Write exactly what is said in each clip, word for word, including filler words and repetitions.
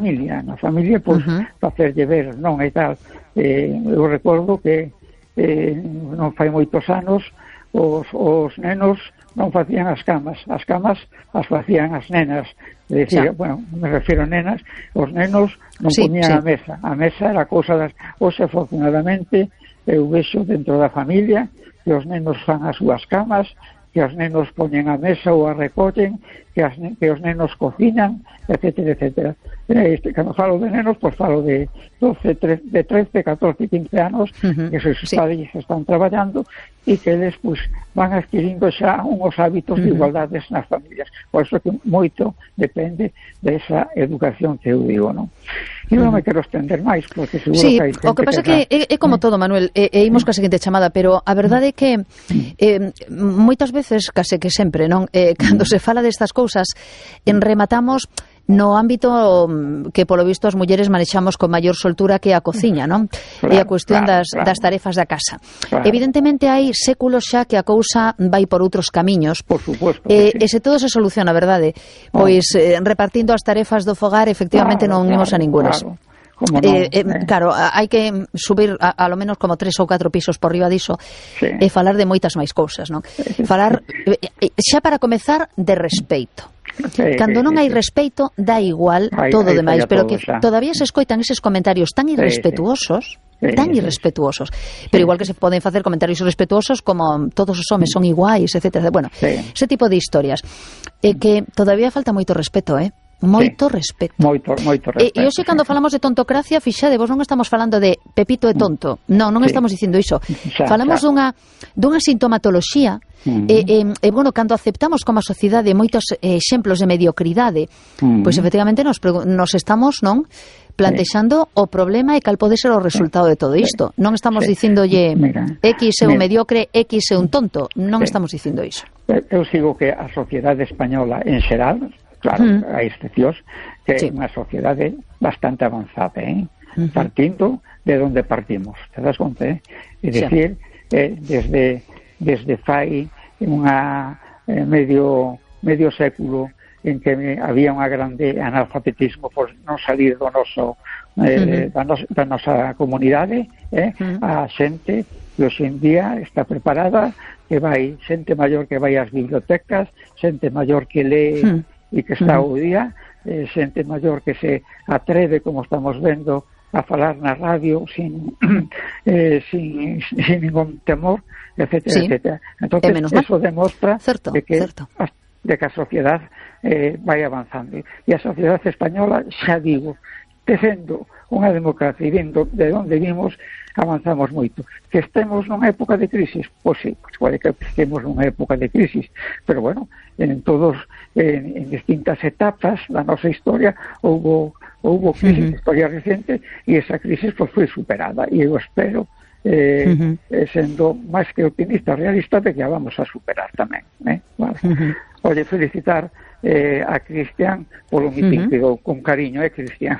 familia, na familia, pois, uh-huh. facerlle ver, non, e tal. Eh, eu recordo que eh, non fai moitos anos os, os nenos non facían as camas, as camas as facían as nenas, é dicir, bueno, me refiro a nenas, os nenos non sí, poñían sí. a mesa, a mesa era cousa das, hoxe afortunadamente eu vexo dentro da familia que os nenos fan as súas camas, que os nenos poñen a mesa ou a recollen, que, as, que os nenos cocinan, etcétera, etcétera. Este, cando falo de nenos, pois falo de doce, trece, de trece, catorce, quince anos, uh-huh. que esos sí. padres están traballando e que eles pois, van adquirindo xa uns hábitos uh-huh. de igualdades nas familias. Por iso que moito depende desa educación que eu digo, non? E non me quero estender máis, porque seguro sí, que hai o que pasa que é, é como todo, Manuel, e, e imos ca seguinte chamada, pero a verdade é que eh, moitas veces, case que sempre, non? Eh, cando se fala destas cousas, en rematamos no ámbito que polo visto as mulleres manexamos con maior soltura que a cociña, non? Claro, e a cuestión claro, das, claro. das tarefas da casa. Claro. Evidentemente hai séculos xa que a cousa vai por outros camiños. Por suposto. E, sí. e se todo se soluciona, verdade? Pois eh, repartindo as tarefas do fogar, efectivamente claro, non imos claro, a ningunas. Claro. No, eh, eh, eh. Claro, hai que subir a, a lo menos como tres ou catro pisos por riba diso sí. e falar de moitas máis cousas, non? Falar, eh, xa para comezar, de respeito. Sí, cando non hai respeito dá igual aí, todo o demais, pero que xa. Todavía se escoitan eses comentarios tan irrespetuosos sí, sí. tan sí, irrespetuosos sí. pero igual que se poden facer comentarios irrespetuosos como todos os homes son iguais, etcétera. Bueno, sí. ese tipo de historias é eh, que todavía falta moito respeto, eh? Moito sí. respeto. Moito, moito respeto. E, e hoxe cando falamos de tontocracia, fixadevos, non estamos falando de Pepito é tonto. Non, non sí. estamos dicindo iso. Xa, falamos xa. dunha dunha sintomatoloxía. Uh-huh. E, e, e, bueno, cando aceptamos como a sociedade moitos exemplos de mediocridade, uh-huh. pois efectivamente nos, nos estamos, non, plantexando sí. o problema e cal pode ser o resultado de todo isto. Non estamos sí. dicindolle X é un mediocre, X é un tonto. Non sí. estamos dicindo iso. Eu sigo que a sociedade española en xeral, claro, uh-huh. hai excepcións, que sí. é unha sociedade bastante avanzada, eh? Uh-huh. partindo de onde partimos, te das conta, eh? É dicir, sí. eh, desde desde fai unha eh, medio medio século en que había unha grande analfabetismo por non salir do noso eh, uh-huh. da, nos, da nosa comunidade, eh? uh-huh. a xente que hoxe en día está preparada, que vai xente maior que vai ás bibliotecas, xente maior que lee uh-huh. e que está uh-huh. ao día, eh, xente maior que se atreve, como estamos vendo, a falar na radio sin eh, sin, sin ningún temor, etcétera, sí. etcétera. Entonces, eso demostra certo, de, que, certo. de que a sociedade eh, vai avanzando. E a sociedade española, xa digo, tecendo unha democracia e vendo de onde vimos, avanzamos moito. Que estemos nunha época de crisis, pois sí, pois pode que estemos nunha época de crisis, pero bueno, en todos, en, en distintas etapas da nosa historia, houve houve crisis, uh-huh. historia recente, e esa crisis pois foi superada, e eu espero eh, uh-huh. sendo máis que optimista, realista, de que a vamos a superar tamén, eh? Vale. Uh-huh. Oye, felicitar eh, a Cristian polo mitin, uh-huh. pero con cariño, eh, Cristian.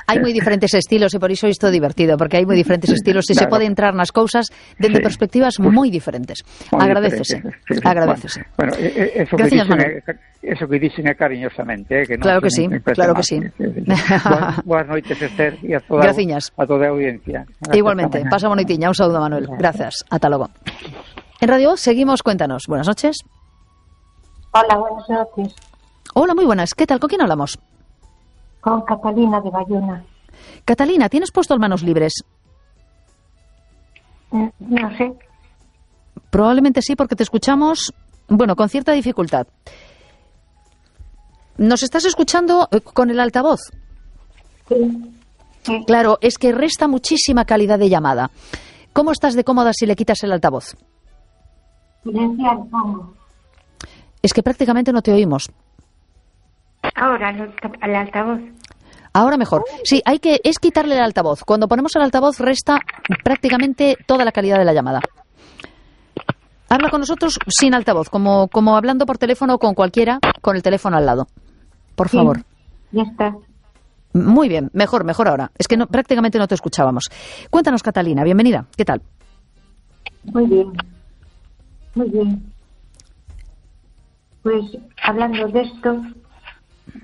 Hai moi diferentes estilos e por iso isto é divertido, porque hai moi diferentes estilos e claro. se pode entrar nas cousas dende sí. perspectivas pues, moi diferentes. Muy agradecese, sí, sí. agradecese. Bueno, bueno eso, Gracias, que dicen, eso que dicen é cariñosamente, eh, que non claro que sí, claro que sí. Boas, boas noites, Esther, e a toda, a toda a audiencia. Gracias. Igualmente, pasa boa noitiña, un saúdo, Manuel. Gracias, ata logo. En Radio seguimos, cuéntanos. Buenas noches. Hola, buenas noches. Hola, muy buenas. ¿Qué tal? ¿Con quién hablamos? Con Catalina de Bayona. Catalina, ¿tienes puesto el manos libres? Mm, no sé. Probablemente sí, porque te escuchamos, bueno, con cierta dificultad. ¿Nos estás escuchando con el altavoz? Sí. sí. Claro, es que resta muchísima calidad de llamada. ¿Cómo estás de cómoda si le quitas el altavoz? Silenciar, pongo. Es que prácticamente no te oímos. Ahora, al altavoz. Ahora mejor. Sí, hay que es quitarle el altavoz. Cuando ponemos el altavoz resta prácticamente toda la calidad de la llamada. Habla con nosotros sin altavoz, como, como hablando por teléfono con cualquiera, con el teléfono al lado. Por sí, favor. Ya está. Muy bien, mejor, mejor ahora. Es que no, prácticamente no te escuchábamos. Cuéntanos, Catalina, bienvenida. ¿Qué tal? Muy bien. Muy bien. Pues hablando de esto,